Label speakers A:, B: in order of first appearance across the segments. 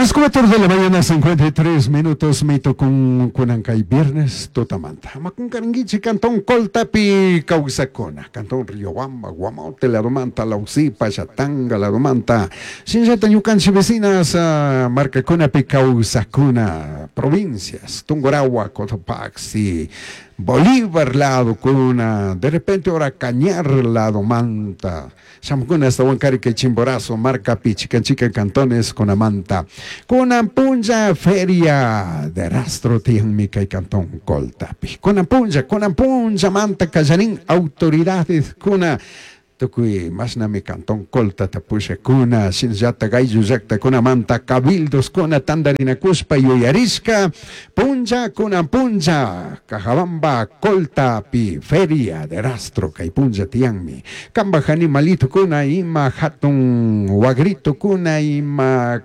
A: Las 4 de la mañana, 53 minutos, mitukun kunan kay viernes tutamanta. Ama qunqarinkichik cantón Coltapi kawsakuna, cantón Riobamba, Guamote ladomanta, Lausipa, Shatanga ladomanta, shinallata ñukanchik vecinas markakunapi kawsakuna, provincias, Tungurahua, Cotopaxi, Bolívar ladokuna, de repente ora Cañar ladomanta, shamukuna hasta Huancarque, Chimborazo, markapi, chikan chikan cantones kunamanta. Kunan punlla feria de rastro tiyanmi kay cantón Coltapi. Kunan punlla, kunan punllamanta kallarin autoridades kuna tukuy mashnami cantón Coltata pushakuna, shinallata ayllu llaktakunamanta cabildos kuna tandarinakushpa yuyarishka punlla kunan punlla Cajabamba Coltapi feria de rastro kay punlla tiyanmi. Kambaj animalito kuna ima hatun wagrito kuna ima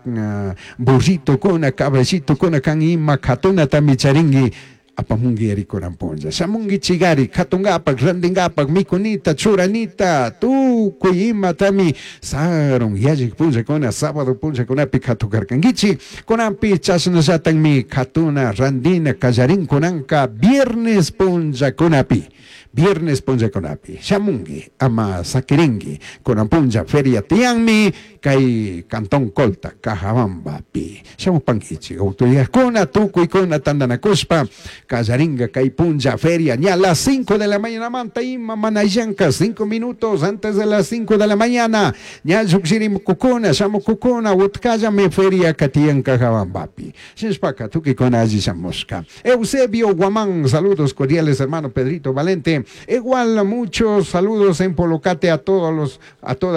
A: burrito kuna caballito kuna kan ima katunatami charinki apamunki ari kunan punlla. Shamunkichigari katungapak, rantingapak, mikunita, churanita, tukuy imatami sarun yallik punllakuna, sábado punllakunapi katukarkankichik. Kunanpi chashnallatakmi katuna, rantina kallarin kunanka viernes punllakunapi. Viernes punllakunapi. Shamunki, ama sakirinki. Kunan punlla feria tiyanmi kay cantón Colta, Cajabambapi. Shamupankichik, autoridadkuna, tukuykuna tandanakushpa kallarinka kay punlla feria ña a las 5 de la mañana manta ima mana llanka 5 minutos antes de las 5 de la mañana ña llukshirimukkuna shamukkuna utkallami feria tiyan Cajabambapi. Shinashpaka tukuykuna alli shamushka. Eusebio Guamán, saludos cordiales, hermano Pedrito Valente. Igual muchos saludos en Polocate a todas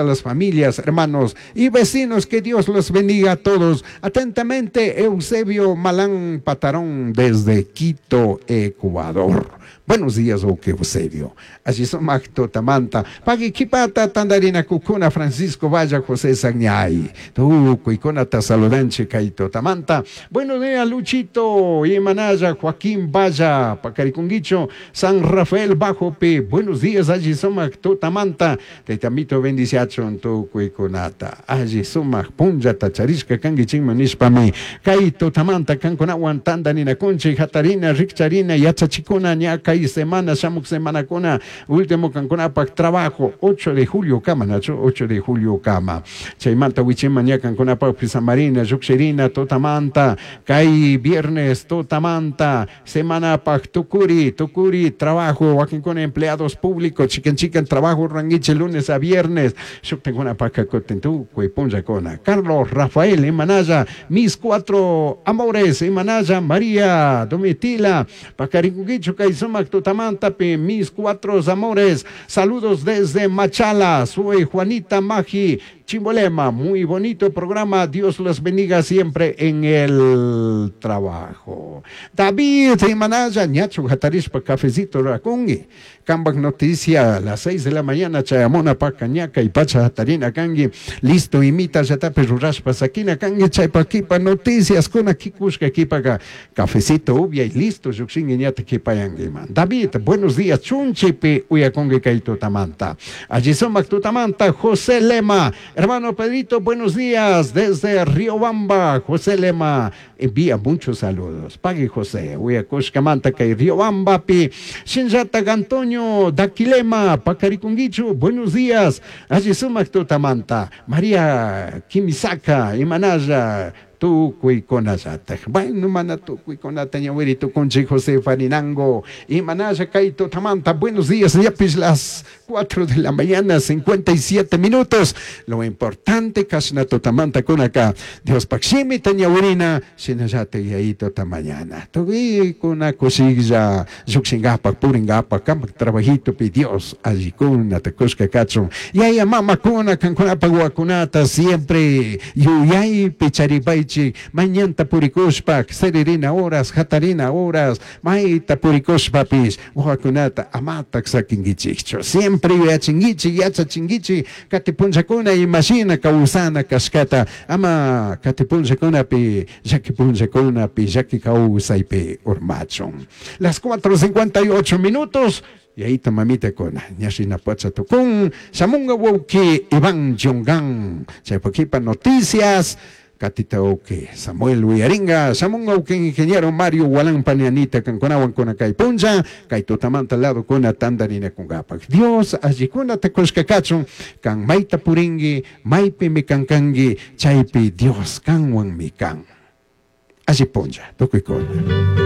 A: las familias, hermanos y vecinos, que Dios los bendiga a todos. Atentamente, Eusebio Malán Patarón desde Quito, Ecuador. Buenos días, wawki Eusebio. Alli sumak tutamanta. Pagui kipata tandarinakukuna Francisco Valla, José Sagñay. Tukuykunata saludanchik kay tutamanta. Buenos días, Luchito y Manaya, Joaquín Valla, Pacarikunguicho, San Rafael Bajopi. Buenos días, alli sumak tutamanta. Tayta Amito bendiciachun tukuykunata. Alli sumak punllata charishka kankichikman nishpami. Kay tutamanta kankunawan tandarinakunchik, hatarina, rikcharina, yachachikuna, ña kay semana, shamuk semanakuna, último kankunapak trabajo, 8 de julio kama, nachu, 8 de julio kama. Chaymanta wichiman ña kankunapak pisamarina, llukshirina, tutamanta, kay viernes, tutamanta, semanapak tukuri, tukuri, trabajo, wakinkuna empleados públicos, chikan chikan trabajo, rurankichik lunes a viernes, shuktakunapak kutin tukuy punllakuna. Carlos Rafael Imanaya, mis cuatro amores, Imanaya, María Domitila, Pacaricuquicho, kay sumak tutamantapi, mis cuatro amores, saludos desde Machala, soy Juanita Magi, Chimbolema, muy bonito programa, Dios los bendiga siempre en el trabajo. David Imanaya, ñachu hatarishpa cafecito rurakunki, kambak noticia a las 6 de la mañana, chayamuna paka ñaka y pacha hatarina kanki, listo imita llatapi rurashpa sakina kanki, chaypa kipa noticias kuna kikushka kipaka cafecito upia y listo, llukshinki ñata kipayankiman. David, buenos días, chunchipi uyakunki kay tutamanta. Alli sumak tutamanta, José Lema, hermano Pedrito, buenos días desde Riobamba. José Lema envía muchos saludos. Pagui José, uyakushkamanta kay Riobambapi. Shinllata Antonio Daquilema, Pacarikunguichu, buenos días. Alli sumak tutamanta. María Kimisaka, Imanaya, tukuykunallatak. Bueno, mana tukuykunata ñawiri tukunchik José Farinango. Imanaya kay tutamanta. Buenos días, yapis las 4 de la mañana, 57 minutos. Lo importante, kashna tutamanta kunaka. Diospaj shimita ñawirina, shinallata yayito mañana. Tukuykuna kushilla, llukshingapak, puringapak, kampak trabajitopi Dios allikunata kushka kachun. Yaya mamakuna, kankunapak wawakunata, siempre yuyaypi charipaychik, mañanta purikushpa, saquirina horas, hatarina horas, mayta purikushpapish, wawakunata amatak sakinkichikchu. Siempre yuyachinkichik, yachachinkichik, kati punllakuna imashina kawsana kashkata, ama kati punllakunapi, llaki punllakunapi, llaki kawsaypi urmachun. Las 4:58 minutos. Y ahí mamita kuna, ñashina pacha tukun, shamunga wawki Iván Yongan, chaypakipa noticias. Katita uki Samuel wiyaringa, shamunga uki ingeniero Mario Walan Panianita kankunawan kuna kay punlla, kay tutamanta lado kuna tandarinakungapak. Dios allikunata kushka kachun, kan mayta purinki, maypimi kankanki, chaypi Dios kanwanmi kan. Alli punlla, tukuykuna.